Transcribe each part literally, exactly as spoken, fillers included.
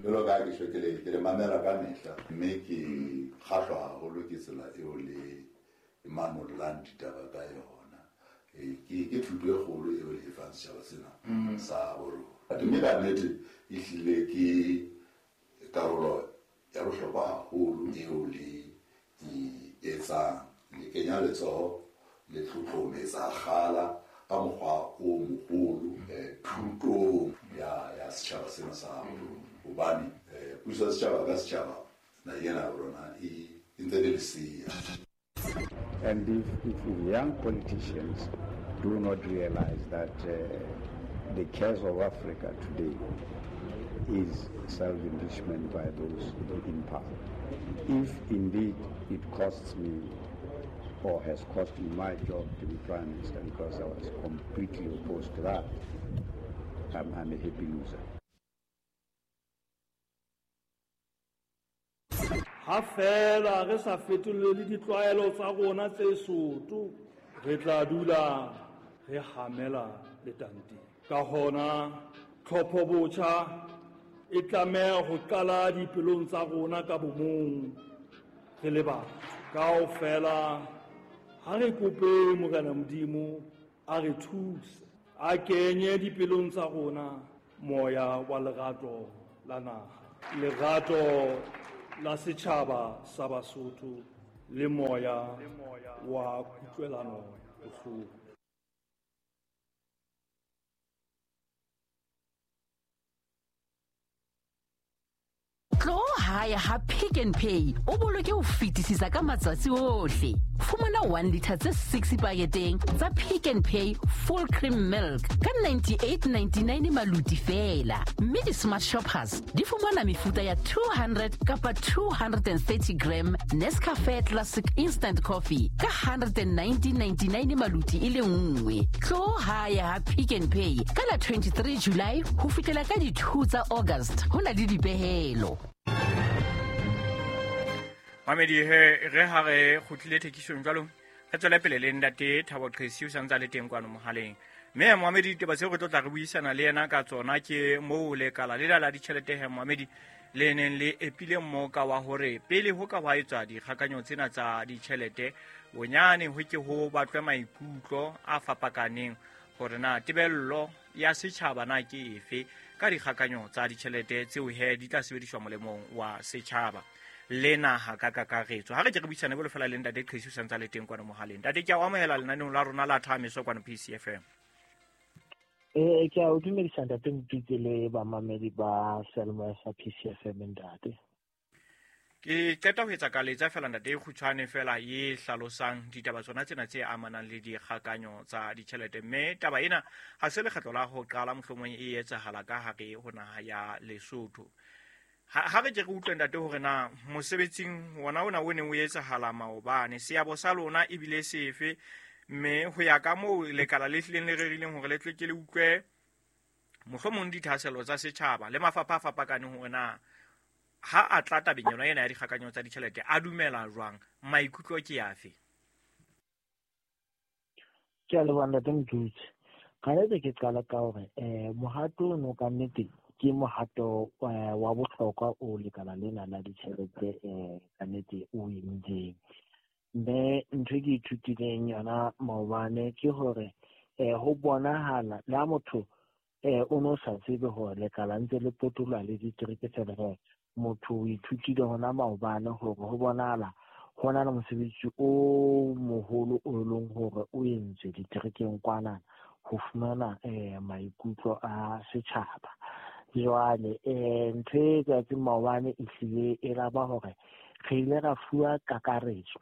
Jwalo ka ha ke tjho ke le ke le mamela ka mehla mme ke kgahlwa haholo ke tsela eo le manollang ditaba ka yona. Ke ke thuto e kgolo eo le e fang setjhaba sena sa borona. Mme ka nnete ehlile ke karolo ya bohlokwa haholo eo le e etsang. Le kenya letsoho le tlotlometsa kgala ka mokgwa o moholo thutong ya ya setjhaba sena sa borona. Hobane puso ya setjhaba ka setjhaba naheng ena ya rona e ntse le lesea. And if, if young politicians do not realize that uh, the curse of Africa today is self-enrichment by those in power. If indeed it costs me or has cost me my job to be Prime Minister because I was completely opposed to that, I'm, I'm a happy loser. Ha fela re sa fetolele ditlwaelo tsa rona tse soto, re tla dula re hamela letanteng. Ka hona tlhopho botjha e tlameha ho qala dipelong tsa rona ka bomong re le batho. Kaofela ha re kope Morena Modimo a re thuse, a kenye dipelong tsa rona moya wa lerato la naha, lerato la setjhaba sa Basotho le moya wa kutlwelano bohloko. Tlo hae ha Pick n Pay o boloke ho fetisisa ka matsatsi ohle. Fumana one liter tse six paketeng tsa Pick n Pay full cream milk ka ninety-eight ninety-nine maluti fela. Mme di-smart shoppers di fumana mefuta ya two hundred kapa two hundred and thirty gram Nescafe Classic Instant Coffee ka hundred and nineteen ninety-nine maluti e le nngwe. Tlo hae ha Pick n Pay ka la twenty-three July ho fihlela ka di two tsa August. Ho na le dipehelo. Mamedi he re ha re kgutlile thekisong jwalo re tswele pele le ntate Thabo Qhesi o santse a le teng kwano mohaleng. Mme Mohamedi ditaba tseo re tlo tla re buisana le yena ka tsona ke moo lekala lela la ditjhelete he Mohamedi le neng le epile mmoka wa hore pele ho ka hwa etswa dikgakanyo tsena tsa ditjhelete bonyane ho ke ho batlwe maikutlo a fapakaneng hore na tebello ya setjhaba na ke efe ka dikgakanyo tsa ditjhelete tseo he di tla sebediswa molemong wa setjhaba le naha ka kakaretso. Ha re ke re buisane bolo fela le ntate Qhesi o santse a le teng kwano mohaleng. Ntate ke a o amohela lenaneong la rona la Thameso kwano P C F M. Eh ke a o dumedisa ntate Mopitse le bamamedi ba seyalemoya sa P C F M ntate. Ke qeta ho etsa kaletsa fela ntate e kgutshwane fela e hlalosang ditaba tsona tsena tse amanang le dikgakanyo tsa ditjhelete. Mme taba ena ha se lekgetlo la ho qala mohlomong e etsahala ka hare ho naha ya Lesotho. Ha re ke re utlwe ntate hore na mosebetsing wona ona o neng o etsahala maobane seabo sa lona ebile sefe, mme ho ya ka moo lekala le hlileng le rerileng hore le tle ke le utlwe mohlomong dithahasello tsa setjhaba le mafapha a fapakaneng hore na ha a tla tabeng yona ena ya dikgakanyo tsa ditjhelete a dumela jwang, maikutlo ke afe? Ke a leboha ntate Mdutse. Ka nnete ke qala ka hore eh mohato ono ka nnete ke mohato wa bohlokwa o lekala lena la ditjhelete eh ka nnete o entseng. Mme ntho e ke ithutileng yona maobane ke hore eh ho bonahala le ha motho eh o no sa tsebe hore lekala ntse le potoloha le ditereke fela he motho o ithutile hona maobane hore ho bonahala ho na le mosebetsi o moholo o leng hore o entswe diterekeng kwana ho fumana eh maikutlo a setjhaba. Jwale eh ntho e etsahetseng maobane e hlile e la ba hore re ile ra fuwa kakaretso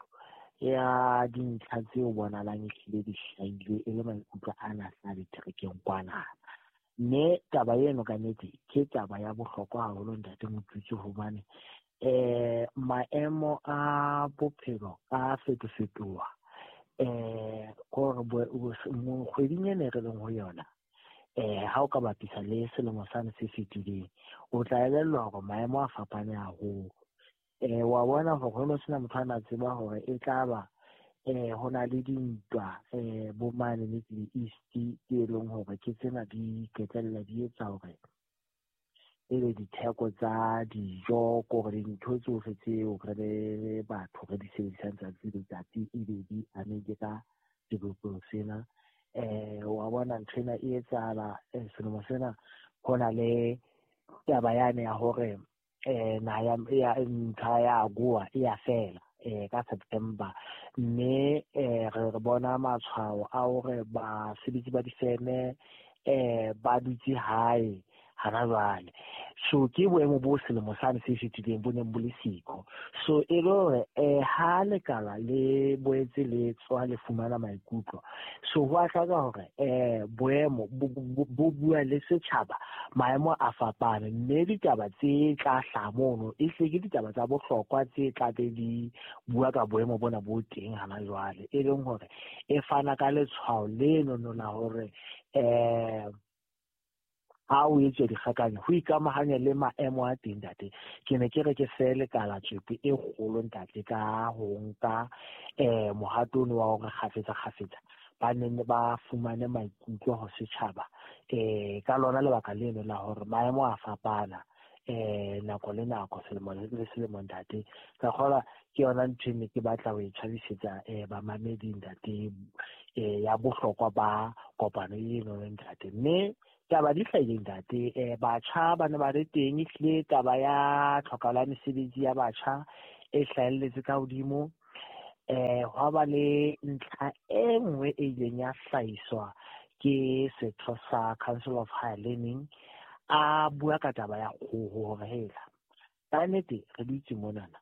ya dintlha tseo bonahalang ehlile di hlahile e le maikutlo ana a diterekeng kwana. Mme taba eno ka nnete ke taba ya bohlokwa haholo ntate Motutsi hobane eh maemo a bophelo a fetofetoha. Eh kore kgweding ena e re leng ho yona eh ha o ka bapisa le selemo sane se fetileng o tla elellwa hore maemo a fapane haholo. Eh wa bona hore ho no sena motho a na tseba hore e tla ba eh ho na le dintwa eh bo mane Middle East tse leng hore ke tsena di qetella di etsa hore ebe ditheko tsa dijo kore dintho tsohle tseo re le batho re di sebedisang tsatsi le letsatsi ebe di amehile ka sebopeho sena. Eh wa bona ntho ena e etsahala selemo sena ho na le taba yane ya hore eh naha ya ntlha ya AGOA e ya fela eh ka September, mme eh re bona matshwao a hore basebetsi ba difeme eh ba dutse hae hana jwale. So ke boemo bo selemo sane se fetileng bo neng bo le siko. So e le hore eh ha lekala le boetse le tswa le fumana maikutlo, so ho a hlaka hore eh boemo bo bua le setjhaba, maemo a fapane, mme ditaba tse tla hlaha mono e hle ke ditaba tsa bohlokwa tse tla be di bua ka boemo bona bo teng hana jwale, e leng hore e fana ka letshwao leno la hore eh ha o etswa dikgakanyo ho ikamahanya le maemo a teng ntate. Ke ne ke re ke fe lekala tswepe e kgolo ntate ka ho nka eh mohato ono wa hore kgafetsa kgafetsa ba nne ba fumane maikutlo ho setjhaba eh ka lona lebaka leno la hore maemo a fapana eh nako le nako, selemo le selemo ntate. Ka kgola ke yona ntho e ne ke batla ho e tjhabisetsa eh bamamedi ntate eh ya bohlokwa ba kopano eno ntate. Mme taba di hlahile ntate, eh batjha ba ne ba le teng, ehlile taba ya tlhokahalo ya mesebetsi ya batjha e hlahelletse ka hodimo. Eh hwa ba le ntlha e nngwe e ileng ya hlahiswa ke setho sa Council of Higher Learning, a bua ka taba ya kgoho hore hela ka nnete re dutse monana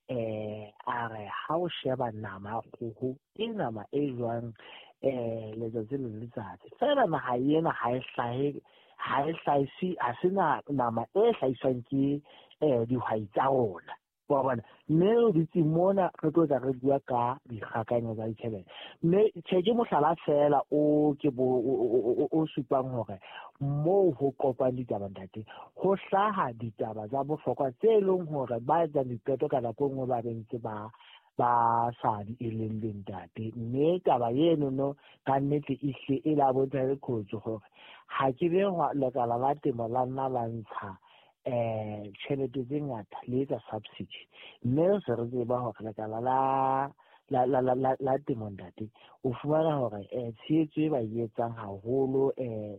eh a re ha o sheba nama ya kgoho ke nama e jwang eh letsatsi le letsatsi fela naha ena ha e hlahe ha e hlahise, ha se nama e hlahiswang ke eh dihwai tsa rona wa bona. Mme re dutse mona re tlo tla re bua ka dikgakanyo tsa ditjhelete, mme tjhe ke mohlala fela o ke bo o supang hore moo ho kopang ditaba ntate ho hlaha ditaba tsa bohlokwa tse leng hore ba etsang diqeto ka nako e nngwe ba be ntse ba ba sa di eleng ntate. Mme taba eno no ka nnete e hle e la bontsha le khotso hore ha ke be lekala la temo la nna la ntsha eh tjhelete tse ngata le etsa subsidy, mme se re tseba hore lekala la la la la la temo ntate o fumana hore eh tshehetso e ba e etsang haholo eh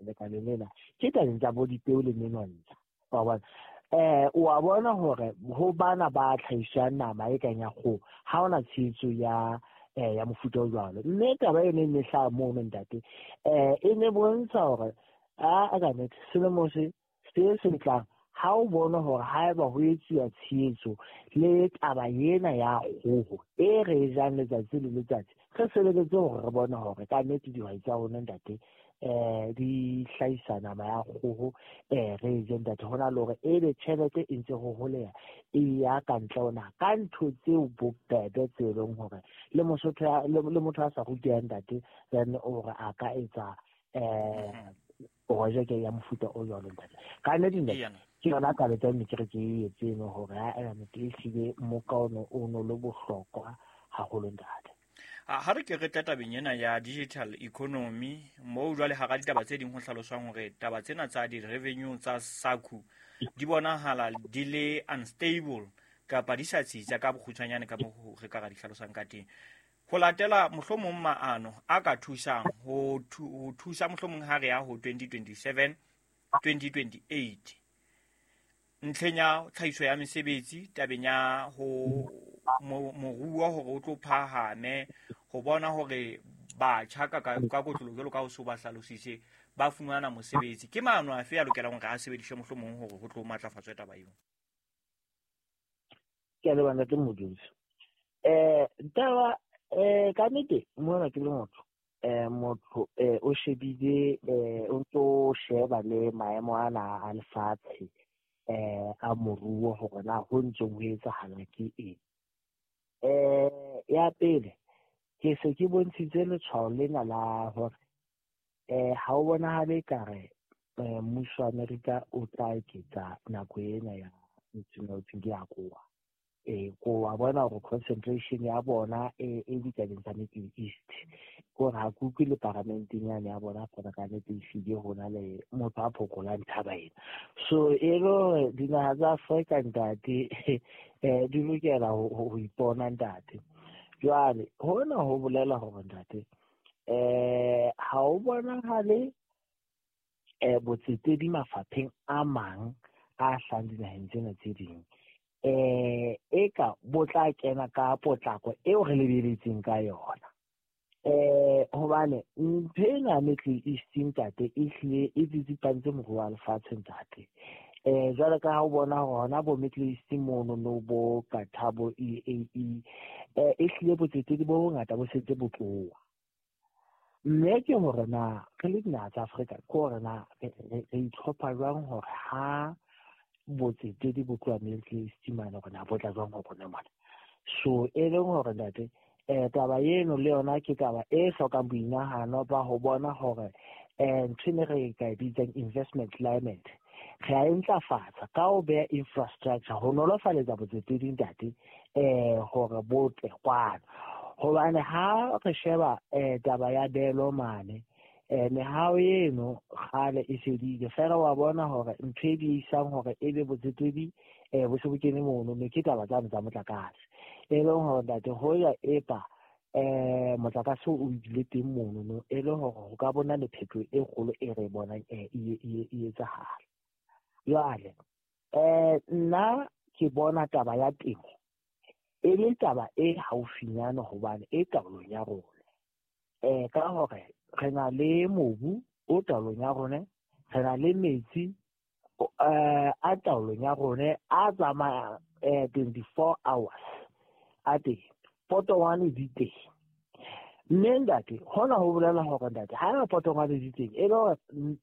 lekaleng lena ke tabeng tsa bo dipeo le menontsha wa bona. Eh o a bona hore ho bana ba tlhahisang nama e kang ya kgoho ha hona tshehetso ya eh ya mofuta o jwalo. Mme taba eno e ne hlaha mono ntate eh e ne bontsha hore a ka nnete selemo se se se tlang ha o bona hore haeba ho etsuwa tshehetso le taba ena ya kgoho e re e jang letsatsi le letsatsi, re sebeletse hore re bone hore ka nnete dihwai tsa rona ntate eh di hlahisa nama ya kgoho eh re e je ntate, hona le hore ebe tjhelete e ntse ho holeha e ya ka ntle ho naha ka ntho tseo bobebe tse leng hore le mosotho le motho a sa rutehang ntate then hore a ka etsa eh projeke ya mofuta o jwalo ntate. Ka nnete ntate ke yona taba tsa ne ke re ke e etse eno hore a nnete ehlile moka ono o no le bohlokwa haholo ntate. Ha re ke re tla tabeng ena ya digital economy moo jwale hara ditaba tse ding ho hlaloswang hore taba tsena tsa di-revenue tsa SACU di bonahala di le unstable kapa di sa tsitsa ka bokgutshwanyane ka moo re ka ra di hlalosang ka teng. Ho latela mohlomong maano a ka thusang ho thusa mohlomong ha re ya ho twenty twenty-seven twenty twenty-eight ntlheng ya tlhahiso ya mesebetsi, tabeng ya ho moruo hore o tlo phahame, ho bona hore batjha ka ka kotlolo jwalo ka ho so ba hlalositse ba fumana mosebetsi. Ke maano afe a lokelang hore a sebediswe mohlomong hore ho tlo matlafatswe taba eo? Ke a leboha ntate Modise. Eh taba eh ka nnete mona ke le motho eh motho eh o shebile eh o ntso sheba le maemo ana a lefatshe eh a moruo hore na ho ntse ho etsahala ke eng. Eh ya pele ke se ke bontshitse letshwao lena la hore eh ha o bonahale ekare mmuso wa Amerika o tla eketsa nako ena ya ntho ke ya kowa. Eh ko wa bona hore concentration ya bona e e ditabeng tsa Middle East. Ko ha ke utlwe le paramenteng yane ya bona fela ka nnete ehlile ho na le motho a phokolang taba ena. So e le hore dinaha tsa Afrika ntate eh di lokela ho ipona ntate. Jwale hona ho bolela hore ntate eh ha o bonahale eh botsetedi mafapheng a mang a hlahang dinaheng tsena tse ding eh eka bo tla kena ka potlako eo re lebeletseng ka yona. Eh hobane ntho ena Middle East ntate e hlile e tsitsipantse moruo wa lefatshe ntate. Eh jwale ka ha o bona hona bo Middle East mono no bo Qatar bo U A E eh e hlile botsetedi bo bongata bo setse bo tloha. Mme ke hore na re le dinaha tsa Afrika ke hore na re itlhopha jwang hore ha botsetedi bo tloha Middle East mane hore na bo tla jwang ho rona mona. So e leng hore ntate eh taba eno le yona ke taba e hlokang boinahano ba ho bona hore eh ntho e re ka e bitsang investment climate re a e ntlafatsa ka ho beha infrastructure ho nolofaletsa botsetedi ntate eh hore bo tle kwano. Hobane ha re sheba eh taba ya belo mane eh mehao eno kgale e fedile fela wa bona hore ntho e di isang hore e be botsetedi eh bo se bo kene mono mme ke taba tsane tsa motlakase. E leng hore ntate ho ya epa eh motlakase o ile teng mono no e le hore ho ka bona le phetoho e kgolo e re bonang e e etsahala. Jwale eh nna ke bona taba ya temo e le taba e haufinyane hobane e taolong ya rona. Eh ka hore re na le mobu o taolong ya rona, re na le metsi eh a taolong ya rona a tsamaya eh twenty-four hours a teng, potongwane di teng. Mme ntate hona ho bolela hore ntate ha eba potongwane di teng e le hore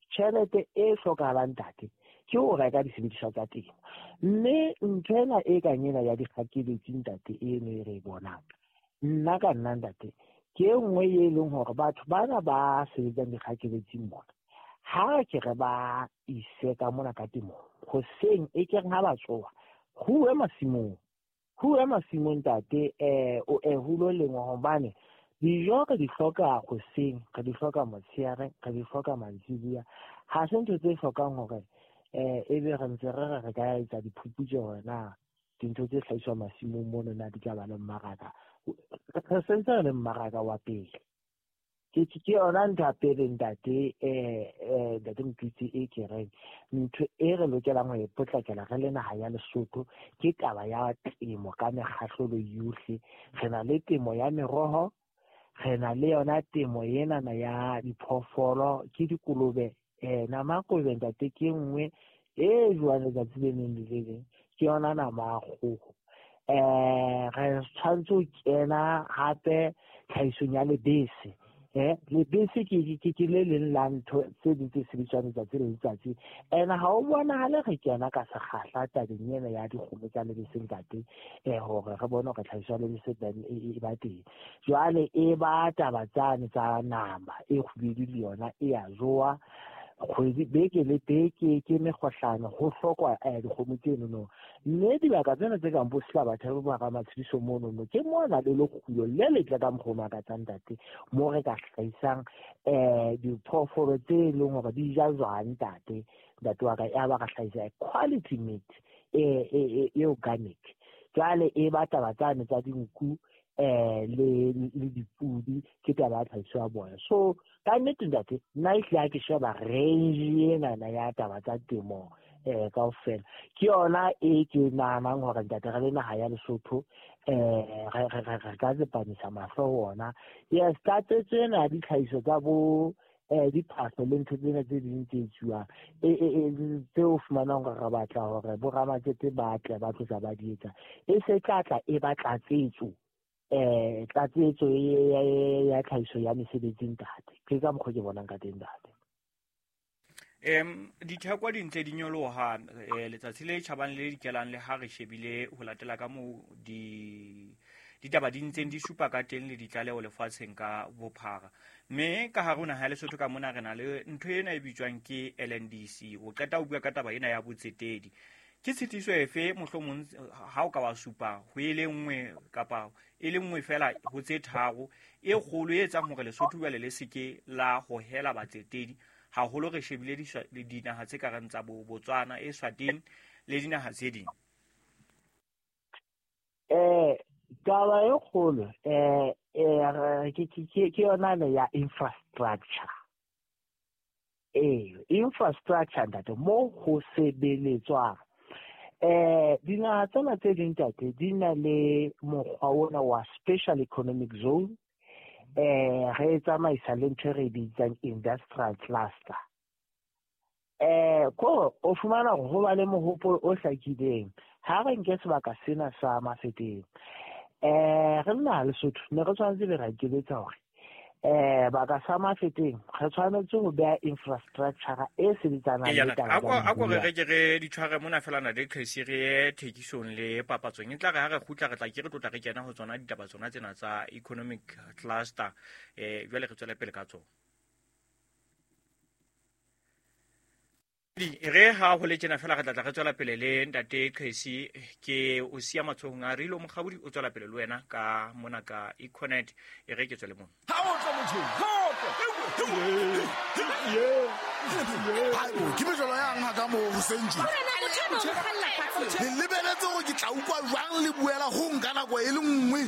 tjhelete e hlokahalang ntate ke ho reka disebediswa tsa temo. Mme ntho ena e kang ena ya dikgakeletsi ntate eno e re e bonang, nna ka nna ntate ke e nngwe e leng hore batho bana ba sebetsang dikgakeletsing mona ha ke re ba ise ka mona ka temong hoseng e ke reng ha ba tsoha ho uwe masimong, ho uwe masimong ntate eh o eh ho lo lengwa hobane dijo re di hloka hoseng, re di hloka motshehare, re di hloka mantsibuya. Ha se ntho tse hlokang hore eh ebe re ntse re re re ka etsa diphuputso hore na dintho tse hlahiswang masimong mono na di tla ba le mmaraka. Re sentse re le mmaraka wa pele. Ke ke yona ntho ya pele ntate eh eh ntate Motutsi e ke reng ntho e re lokelang ho e potlakela re le naha ya Lesotho ke taba ya temo ka mekgahlelo yohle. Re na le temo ya meroho, re na le yona temo enana ya diphoofolo ke dikolobe. Eh nama ya kolobe ntate ke nngwe e jwang letsatsi le leng le le leng, ke yona nama ya kgoho. Eh re tshwanetse ho kena hape tlhahisong ya lebese. Eh lebese ke ke ke le leng la ntho tse ding tse sebediswang letsatsi le letsatsi. Ene ha o bonahale re kena ka sekgahla tabeng ena ya dikgomo tsa lebese ntate eh hore re bone hore tlhahiso ya lebese e ba teng. Jwale e ba taba tsane tsa nama e kgubedu le yona e a jowa kgwedi beke le beke ke mekgohlano ho hlokwa eh dikgomo tseno no. Mme dibaka tsena tse kang bo Selabathe bo ba Ramatshediso mono no ke mona le lekgulo le letle ka mokgwa o makatsang ntate mo re ka hlahisang eh diphoofolo tse leng hore di ja jwang ntate ntate wa ka ya ba ka hlahisa quality meat e e e organic. Jwale e ba taba tsane tsa dinku eh le le dipudi ke taba ya tlhahiso ya bona. So ka nnete ntate nna ehlile ha ke sheba range enana ya taba tsa temo eh kaofela ke yona e ke nahanang hore ntate re le naha ya Lesotho eh re re re ka tsepamisa mahlo ho ona. Yes, tlatsetso ena ya ditlhahiso tsa bo eh diphahlo le ntho tsena tse ding tse etsuwang e e tseo fumanang hore re batla hore bo ramatsete ba tle ba tlosa ba di etsa e se tla tla e ba tlatsetso eh tlatsetso ya tlhahiso ya mesebetsi ntate. Ke ka mokgwa ke bonang ka teng ntate. Em ditheko di ntse di nyoloha letsatsi le tjhabang le dikelang le ha re shebile ho latela ka moo di ditaba di ntseng di supa ka teng le ditlaleho lefatsheng ka bophara. Mme ka hare ho naha ya Lesotho ka mona re na le ntho ena e bitswang ke L N D C. O qeta ho bua ka taba ena ya botsetedi. Ke tshitiso efe mohlomong ha o ka wa supa ho e le nngwe kapa e le nngwe fela ho tse tharo e kgolo e etsang hore Lesotho jwale le seke la hohela batsetedi haholo re shebile dinaha tse kareng tsa bo Botswana, Eswatini le dinaha tse ding? Eh taba e kgolo eh eh ke ke ke yona le ya infrastructure. Eh infrastructure ntate mo ho sebeletswang. Eh dinaha tsena tse ding ntate di na le mokgwa ona wa special economic zone. Eh re tsamaisa le ntho e re bitsang industrial cluster. Eh ko o fumana hore ho ba le mohopolo o hlakileng ha re nke sebaka sena sa Mafeteng. Eh re nna Lesotho ne re tshwanetse be ra ikeletsa hore eh baka sa Mafeteng re tshwanetse ho beha infrastructure e sebetsanang le taba. A ko re re ke re di tshware mona fela na le Chris re ye thekisong le papatsong e tla re ha re kgutla re tla ke re tlotla re kena ho tsona ditaba tsona tsena tsa economic cluster eh jwale re tswele pele ka tsona. Di re ha ho le tjena fela re tla tla re tswela pele le ntate Qhesi ke o siya matsohong a Rilo Mokgabudi o tswela pele le wena ka mona ka Econet e re ke tswele mona. Ha o tlo motho ha o tlo ke mejolo yang ha ka mo ho sentje le lebeletse hore ke tla utlwa jwang le buela ho nka nako e le nngwe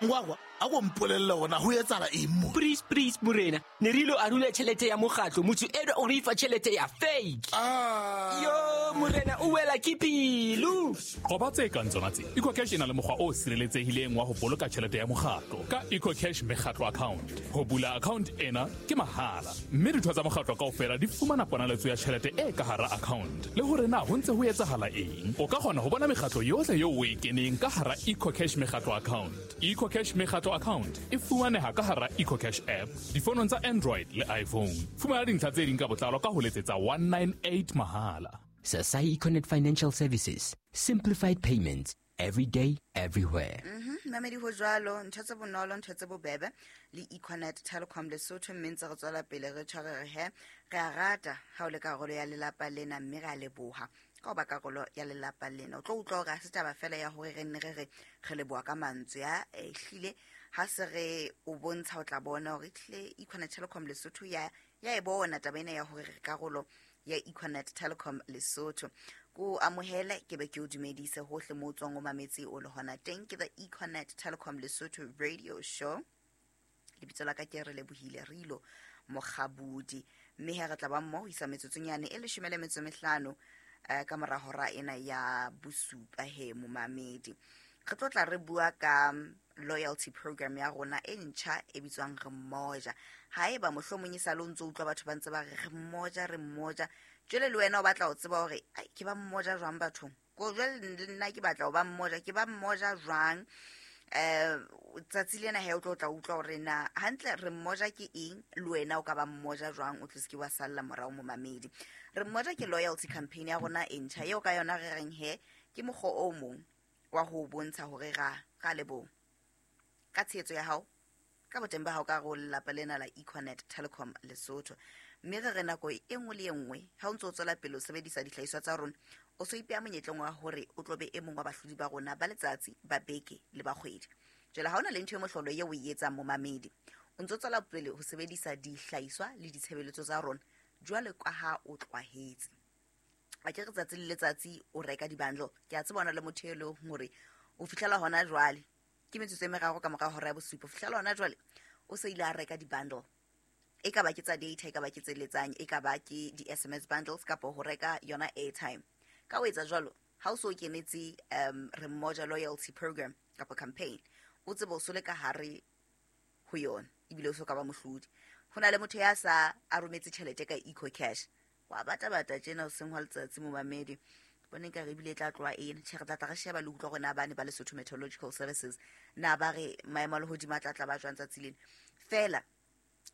ngwagwa a go mpolelle gona ho etsala eng mo? Please please morena ne re ilo arula tšhelete ya mokgatlo motho eno o re fa tšhelete ya fake. Ah. Yo morena o wela ke pelo. Qoba tse kang tsona tse. EcoCash e na le mokgwa o sireletsehileng wa ho boloka tjhelete ya mokgatlo ka EcoCash mekgatlo account. Ho bula account ena ke mahala mme ditho tsa mokgatlo kaofela di fumana ponaletso ya tjhelete e ka hara account le hore na ho ntse ho etsahala eng. O ka kgona ho bona mekgatlo yohle eo o e keneng ka hara EcoCash mekgatlo account. EcoCash mekgatlo account e fumaneha ka hara EcoCash app difonong tsa Android le iPhone. Fumana dintlha tse ding ka botlalo ka ho letsetsa one nine eight mahala. Sasai Econet Financial Services, simplified payments every day, everywhere. Mhm, mamedi ho jwalo, ntho tse bonolo, ntho tse bobebe le Econet Telecom Lesotho mme ntse re tswela pele re tshware re he re a rata ha o le karolo ya lelapa lena mme re a leboha ka ho ba karolo ya lelapa lena. O tlo utlwa hore ha se taba fela ya hore re nne re re re leboha ka mantswe ya ehlile ha se re o bontsha o tla bona hore ehlile Econet Telecom Lesotho ya ya e bona taba ena ya hore re karolo ya Econet Telecom Lesotho. Ko amohele ke be ke o dumedise hohle mo tswang o mametse o le hona teng ke the Econet Telecom Lesotho radio show. Lebitso la ka ke re lebohile Rilo Mokgabudi mme he re tla ba mmoho isa metsotsonyane e leshome le metso mehlano ka mora hora ena ya bosupa he momamedi. Re tlo tla re bua ka loyalty program ya rona e ntjha e bitswang Re Mmoja. Haeba mohlomong e sa le o ntso utlwa batho ba ntse ba re re mmoja re mmoja jwale le wena o batla ho tseba hore ai ke ba mmoja jwang bathong ko jwale le nna ke batla ho ba mmoja ke ba mmoja jwang. Eh tsatsi lena he o tlo tla utlwa hore na hantle re mmoja ke eng le wena o ka ba mmoja jwang o tlo se ke wa salla morao momamedi. Re mmoja ke loyalty campaign ya rona e ntjha eo ka yona re reng he ke mokgwa o mong wa ho bontsha hore ra ra leboha ka tshehetso ya hao ka boteng ba hao ka re lelapa lena la Econet Telecom Lesotho. Mme re re nako e nngwe le e nngwe ha o ntso o tswela pele o sebedisa dihlahiswa tsa rona o so ipea monyetleng wa hore o tlo be e mong wa bahlodi ba rona ba letsatsi ba beke le ba kgwedi. Jwale ha ona le ntho e mohlolo eo o e etsang momamedi o ntso tswela pele ho sebedisa dihlahiswa le ditshebeletso tsa rona jwale ka ha o tlwahetse. A ke re tsatsi le letsatsi o reka di-bundle ke a tseba ona le motho e leng hore o fihlela hona jwale ke metsotso e meraro ka mora hora ya bosupa o fihlela hona jwale o se ile a reka di-bundle e ka ba ke tsa data e ka ba ke tse letsang e ka ba ke di-S M S bundles kapa ho reka yona airtime. Ka ho etsa jwalo ha o so kenetse um Re Mmoja loyalty program kapa campaign o tsebe o so le ka hare ho yona ebile o so ka ba mohlodi. Ho na le motho ya sa a rometse tjhelete ka EcoCash wa bata bata tjena o seng hwa letsatsi momamedi bone ka re ebile e tla tloha ena tjhe re tla tla re sheba le utlwa hore na bane ba Lesotho Meteorological Services na ba re maemo a lehodimo a tla tla ba jwang tsatsi lena. Fela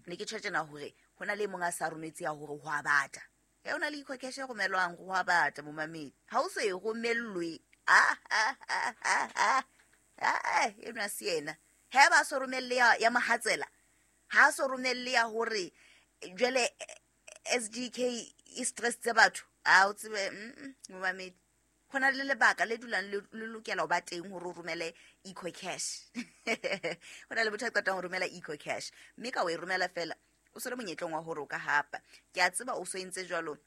ne ke tjho tjena hore ho na le mong a sa rometse ya hore ho a bata ya ona le EcoCash e romelwang ho a bata momamedi ha o so e romellwe ah ah ah ah ah ena se yena ha ba so romelle ya, ya mohatsela ha so romelle ya hore jwale S G K e stress tse batho a o tsebe momamedi Ho na le lebaka le dulang le lokela ho ba teng hore o romele EcoCash. Ho na le motho a qetang ho romela EcoCash, mme ka o e romela fela o se le monyetleng wa hore o ka hapa. Ke a tseba o so entse jwalo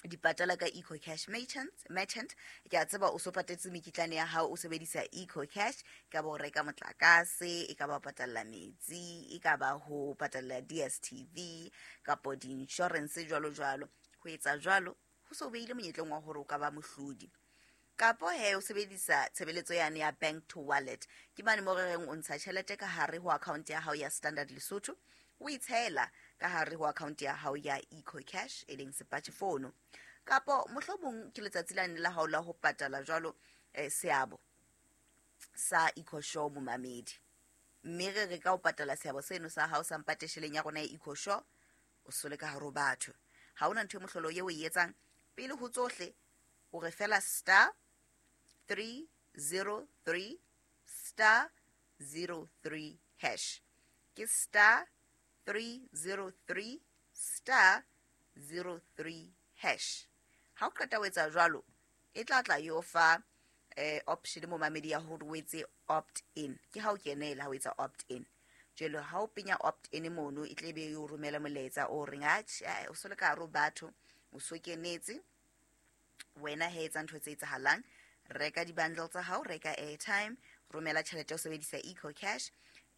dipatala ka EcoCash merchant, merchant. Ke a tseba o so patetse mekitlane ya hao o sebedisa EcoCash, ka bo reka motlakase, e ka ba patalla metsi, e ka ba ho patalla D S T V kapo di-insurance jwalo jwalo. Ho etsa jwalo ho so beile monyetleng wa hore o ka ba mohlodi. Kapo he o sebedisa tshebeletso yane ya bank to wallet, ke mane mo re reng o ntsha tjhelete ka hare ho account ya hao ya Standard Lesotho, o itshela ka hare ho account ya hao ya EcoCash e leng sepatjhe fono. Kapo mohlomong ke letsatsi lane la hao la ho patala jwalo eh, seabo sa EcoShow momamedi, mme re re ka o patala seabo seno sa hao sa mpatesheleng ya rona ya EcoShow, o sole ka hare ho batho. Ha hona ntho e mohlolo eo o e etsang. Pele ho tsohle o re fela star three zero three star zero three hash. Ke star three zero three star zero three hash. Ha o qeta ho etsa jwalo, e tla tla yo fa eh, option mo mamedi ya hore o etse opt in. Ke ha o kenela ha o etsa opt in. Jwale ha o penya opt in mono, e tle be o romela molaetsa o reng atjhe o so le ka hare ho batho, o so kenetse wena he etsa ntho tse etsahalang. Reka di-bundle tsa hao, reka airtime, romela tjhelete o sebedisa EcoCash,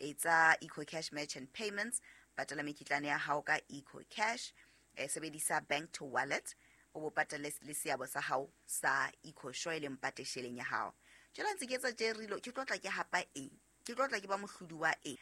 etsa EcoCash merchant payments, patala mekitlane ya hao ka EcoCash, eh, sebedisa bank to wallet, o bo patale le seabo sa hao sa EcoShow e leng patesheleng ya hao. Jwale ntse ke etsa tje rilo, ke tlo tla ke hapa eng? Ke tlo tla ke ba mohlodi wa eng?